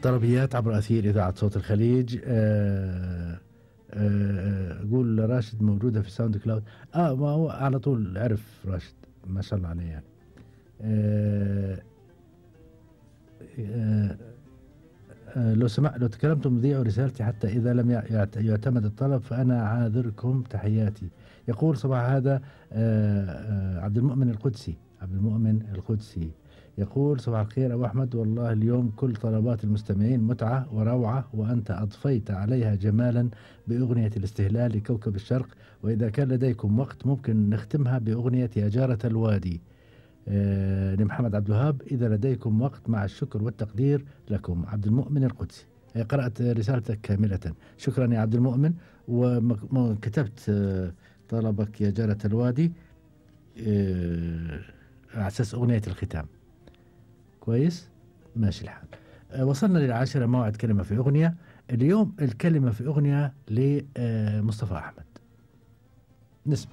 طلبيات عبر أثير إذاعة صوت الخليج. قول راشد موجودة في ساوند كلاود. ما هو على طول عرف راشد، ما شاء الله عليه يعني. لو تكلمتم ذيعوا رسالتي حتى إذا لم يعتمد الطلب فأنا عاذركم. تحياتي. يقول صباح هذا عبد المؤمن القدسي يقول صباح الخير أبو أحمد، والله اليوم كل طلبات المستمعين متعة وروعة، وأنت أضفيت عليها جمالا بأغنية الاستهلال لكوكب الشرق، وإذا كان لديكم وقت ممكن نختمها بأغنية يا جارة الوادي لمحمد عبد الوهاب إذا لديكم وقت، مع الشكر والتقدير لكم. عبد المؤمن القدسي. قرأت رسالتك كاملة، شكرا يا عبد المؤمن. وكتبت طلبك يا جارة الوادي على أساس أغنية الختام. كويس، ماشي الحال. وصلنا للعاشرة، موعد كلمة في أغنية. اليوم الكلمة في أغنية لمصطفى أحمد، نسمع.